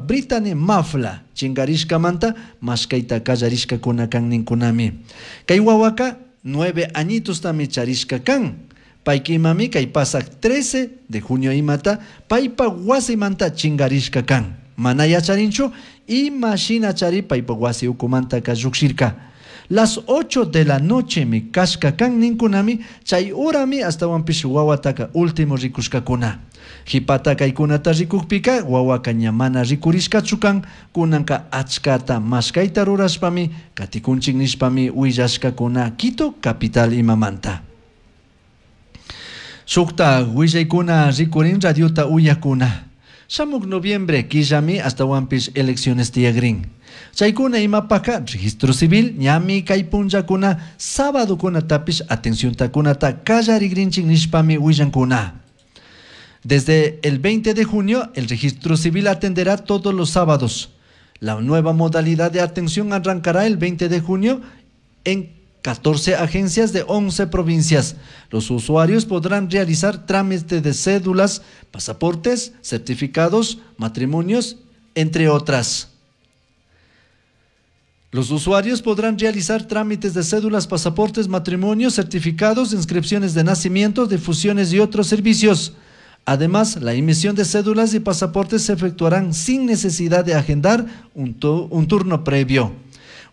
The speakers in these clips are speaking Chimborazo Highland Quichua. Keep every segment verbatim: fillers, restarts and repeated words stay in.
Brittany Mafla chinkarishkamanta mashkayta kallarishkakuna kan ninkunami. Kay wawaka nueve añitostami charishka kan. Payka imami kay pasak trece de junio imata paypa wasimanta chinkarishka kan. Mana yacharinchu ima shina chari paypa wasi ukumantaka llukshirka. Las ocho de la noche mi kashka kan ninkunami chay urami astawanpish wawataka último rikushkakuna. Hipata kaykunata rikukpika wawaka ña mana rikurishkachu kan, kunanka achkata mashkayta rurashpami katikunchik nishpami willashkakuna Quito capital imamanta. Shukta willaykuna rikurin radiota uyakuna. Shamuk noviembre killami astawanpish elecciones tiyagrin. Chaykuna imapaka registro civil ñami kay punllakuna sábadokunatapish atenciontakunata kallarigrinchik nishpami willankuna. Desde el veinte de junio, el registro civil atenderá todos los sábados. La nueva modalidad de atención arrancará el veinte de junio en catorce agencias de once provincias. Los usuarios podrán realizar trámites de cédulas, pasaportes, certificados, matrimonios, entre otras. Los usuarios podrán realizar trámites de cédulas, pasaportes, matrimonios, certificados, inscripciones de nacimiento, defunciones y otros servicios. Además, la emisión de cédulas y pasaportes se efectuarán sin necesidad de agendar un tu-, un turno previo.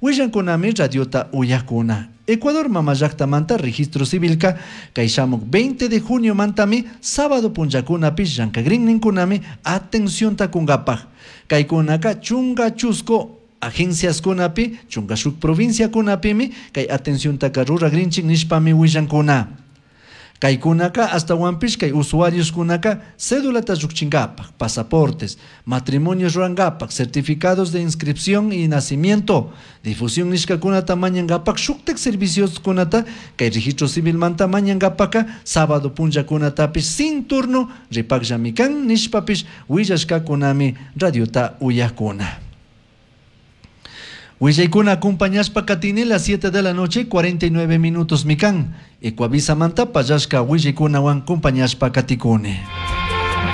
Willankunami radiota uyakuna. Ecuador mamallaktamanta registro civilka kay shamuk veinte de junio mantami sábado punllakunapish llankagrin ninkunami atención kunkapaj. Kaykunaka chunga chusco agencias kunapi, chunga shuk provincia kunapimi kay atención ruragrinchik nishpami willankuna. Kaykunaka astawanpish kay usuarios kunaka cédulata llukchinkapaj, pasaportes, matrimonios rurankapak, certificados de inscripción y nacimiento, difusión nishkakunata mañankapak, shuktak servicios kunata kay registro civil manta mañankapaka sábado punllakunatapish sin turno ripakllami kan nishpapish willashkakunami radiota uyakuna. Willaykuna acompañashpa katini las siete de la noche, cuarenta y nueve minutos mikan. Ecuavisa manta pallashka willaykunawan acompañashpa katikuni.